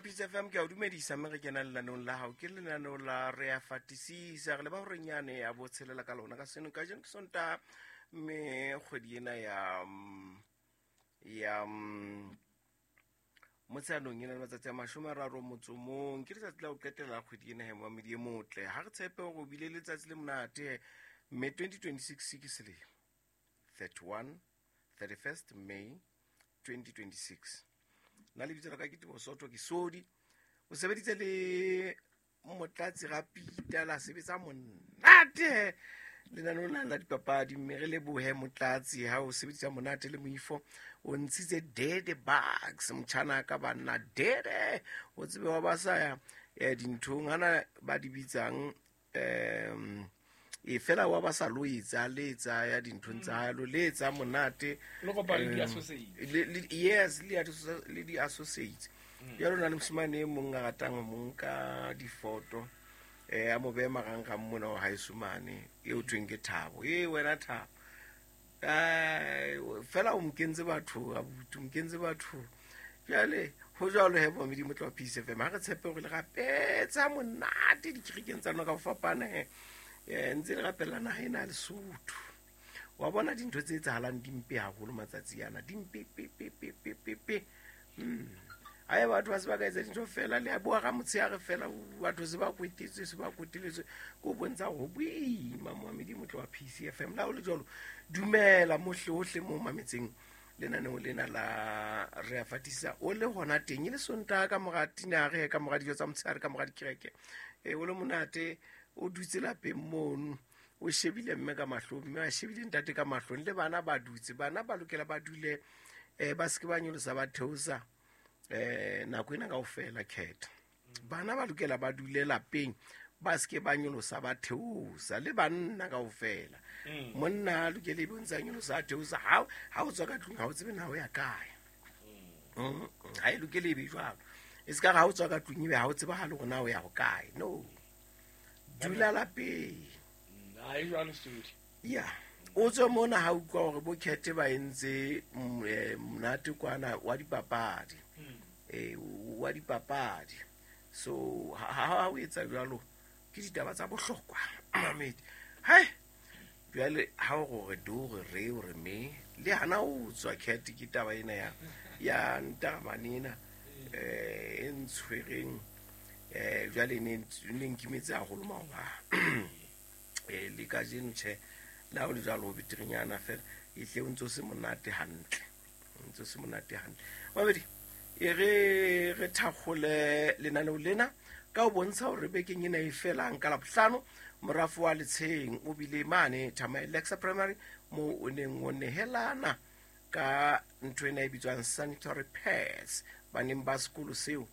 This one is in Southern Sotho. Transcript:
Peace FM, ke a o dumedisa mme re kena lenaneong la gago, ke lenaneo la re a fatisisa, re leba gorenyane ya botshelela ka lona ka seno ka jeno ke sonta, mme kgwedi ena ya ya motsheanong e na le matsatsi a 31, ke letsatsi la go qetela kgwedi ena he moamedi e motle. Ga re tshepe gore o bile letsatsi le monate, mme 2026 ke selemo 31 31st May 2026. Nna lebitso la ka ke Tebo Soto, ke sodi o sebeditse le Motlatsi ga Pita, la sebetsa monate lenaneo la la dipapadi, mme re lebohe Motlatsi ha o sebedisa monate le moifo o ntshitse dede bugs motjhana ka banna dede o tsebe wa ba sa ya dinthong ana ba di bitsang e fela wa ba sa lo etsa le etsa ya dinthong tsa hae lo le etsa monate le kopane le di-associates. Yes, le di-associates. Jalo na le mosimane e mong a ratang ho mo nka difoto, a mo behe marangrang mona wa haeso mane, e o thweng ke Thabo. E wena Thabo, fela o mokentse batho abuti, o mokentse batho. Jale ho jwalo he momedi motlo wa Peace FM, ha re tshepe hore le rapetsa monate dikerekeng tsa lona ka ho fapana he. Ntse le rapella naha ena ya Lesotho. Wa bona dintho tse etsahalang di mpe haholo matsatsi ana, di mpe pe pe pe pe pe pe. Ae batho ba se ba ka etsa dintho fela le a bua ga motshehare fela, batho se ba kwetetswe, se ba kweteletswe, ke o bontsha go boima moamedi motlo wa Peace FM. La o le jwalo, dumela mohle ohle mo mametseng lenaneo lena la re a fatisa, o le hona teng e le Sontaha ka mora tinare, ka mora dijo tsa motshehare, ka mora dikereke, o le monate, o dutse lapeng mono, o shebile mme ka mahlong, mme a shebile ntate ka mahlong, le bana ba dutse. Bana ba lokela ba dule, ba seke ba nyolosa ba theosa nako ena kaofela khetha. Bana ba lokela ba dule lapeng, ba seke ba nyolosa ba theosa, le banna kaofela. Monna a lokele e bontsa nyolosa a theosa, ha o tswa ka tlung ha o tsebe na o ya kae. Ha e lokele e be jwalo, e se ka re ha o tswa ka tlung ebe ha o tsebahale hore na o ya ho kae. No, dula lapeng. Ha e jwalo, Sodi. Ya o tswe mona ha utlwa hore bo khethe ba entse monate kwana wa dipapadi, wa dipapadi. So ha o etsa jwalo ke ditaba tsa bohlokwa mamedi. Hai jwale ha o gore do gore re o re me le hana o tswa khethe, ke taba ena ya ntaramane ena e ntshwereng, jwale ne nkimetse haholo maoba, le kajeno tjhe, le ha o le jwalo ho beterenyana fela e tle o ntse o se monate hantle, o ntse o se monate hantle. Babedi e re thakgole lenaneo lena ka ho bontsha hore bekeng ena e felang ka Labohlano, morafo wa Letsheng o bile mane Thamae Lexa Primary moo o neng o nehelana ka ntho ena e bitswang sanitary pads baneng ba sekolo seo.